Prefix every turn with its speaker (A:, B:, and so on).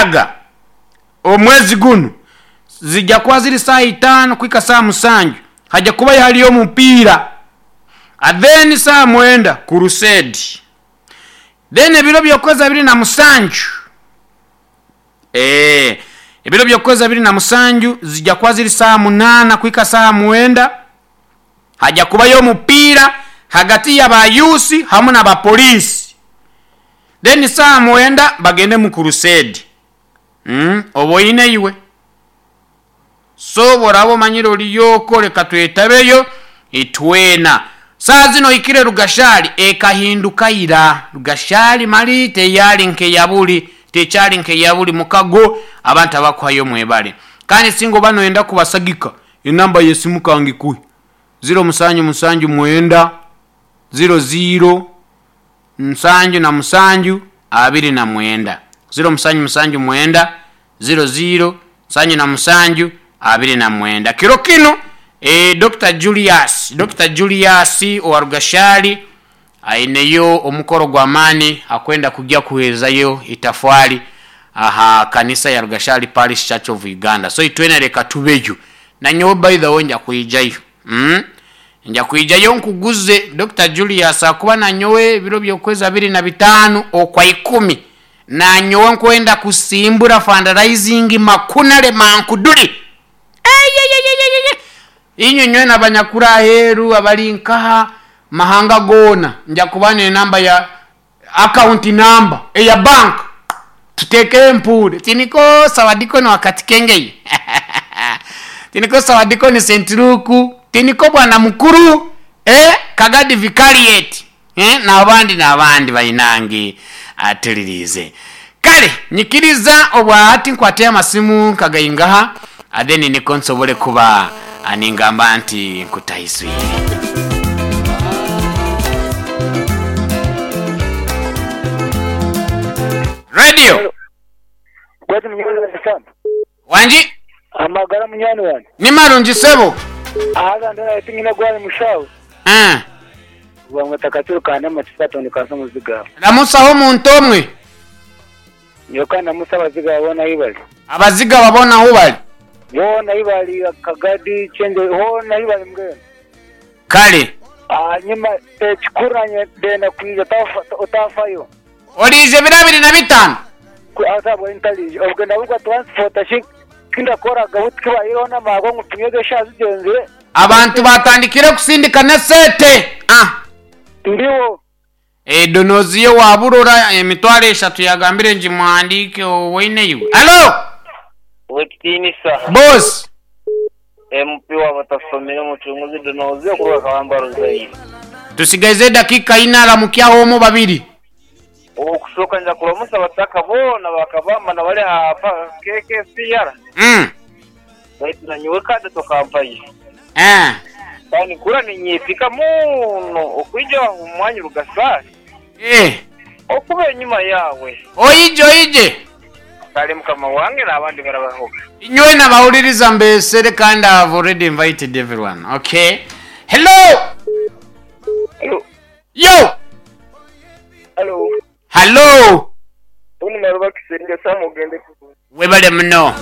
A: mukaaga omwezi gunu, zija kuba ziri saaha itaano kuhika saaha musanju, haja kubayo hariyo omupiira. Then saaha mwenda crusade. Then ebiro by'okwezi 27, eeh, ebiro by'okwezi 27 zija kuba ziri saaha munaana kuhika saaha mwenda, haja kubayo omupiira hagati ya ba youth hamu na ba police. Then saaha mwenda bagende mu crusade. Umm oba oine iwe. So bworaba omanyire oriyo okwo reka twetabeyo itwena. Saaha zinu ohikire Rugashari ekahinduka ira. Rugashari mali teyari nkeyaburi, tekyari nkeyaburi mukago abantu abakuhayo mwebare. Kandi singa oba noyenda kubasagika enamba yesimu kangikuhe, ziro musanju musanju mwenda, ziro ziro 77 29, ziro musanju musanju mwenda, ziro ziro 77 29. Kiro kinu Dokita Julius, Dokita Julius owa Rugashari aineyo omukoro gw'amaani akwenda kugya kuheerezayo itafwari aha kanisa ya Rugashari Parish Church of Uganda. So itwena leka tubeyo. Nanyowe by the way nja kwijayo. Umm nja kwijayo nkuguze Dokita Julius ahakuba nanyowe ebiro by'okwezi 25 Okwaikumi nanyowe nkwenda kusimbura fundraising makunare mankuduri. Eyeyeyeyeye! Inywe nywena abanyakuri aheeru abari nkaha mahanga goona nja kuba n'enamba ya account number eya bank tuteekeho empuure. Tiniko Sawadikoni wa Katikengei? Tiniko Sawadikoni St Luke? Tiniko Bwana Mukuru? Eh, Kagadi Vicariate? Eh, n'abandi n'abandi bainange atuliriize. Kale nyikiriza obwa hati nkwateyo amasimu nkagaingaha, then niko nsobole kuba ningamba nti nkutahiswire. Radio.
B: Gwati munywani wange Sam.
A: Wangi?
B: Amagara munywani wange.
A: Ni marungi sebo.
B: Haza ndora tinyine gwali mushawe.
A: Eeh.
B: Bamweta Katsiru ka Namakiso atondeka nsi omuziga.
A: Ramusaho omuntu omwe.
B: Nyowe ka ndamuse abaziga boona ahi bari.
A: Abazigaba boona ahu bari.
B: Boona ahi bari, Kagadi, Kyengye, hoona ahi bari mbwenu.
A: Kare.
B: Ahanyima ekikuru nanye ndenda kwija otaafayo.
A: Oriija ebiro 25?
B: Ku ahabw'enki ntariija? Obwe nabwo transport shi kindakoraga buti kibayireho n'amaarwa ngu tunywe eshaaha zigyenzire.
A: Abantu baatandikire kusindika n'eseete. Ah.
B: Ndiho.
A: Donoziyo wa Burora 30,000 yagambire ngimuhandiike owaine iwe. Halo!
C: Owekitiinisa
A: Boss!
C: MP w'abatasomire Omucunguzi Donoziyo kuruga Kabamba Ruzaire.
A: Tusigaize edakiika ina aramukyaho omu babiri.
C: Okusooka nja kuramusa abataka boona ba Kabamba nabari aha KKCR. Baitu nanyowe kade tokampayo. Kandi nkura ninyesiga muno okwija omu mwanya Rugasaasi okuba enyima yaawe.
A: Oije oije.
C: Kale mukama wange n'abandi barabahoga.
A: Inywena abahuririza mbesere kandi I have already invited everyone. Okay. Hello!
B: Hello.
A: Yo!
B: Hello.
A: Hallo!
B: Tony Maruba Kisenge Sam ogende kurungi.
A: Webale muno.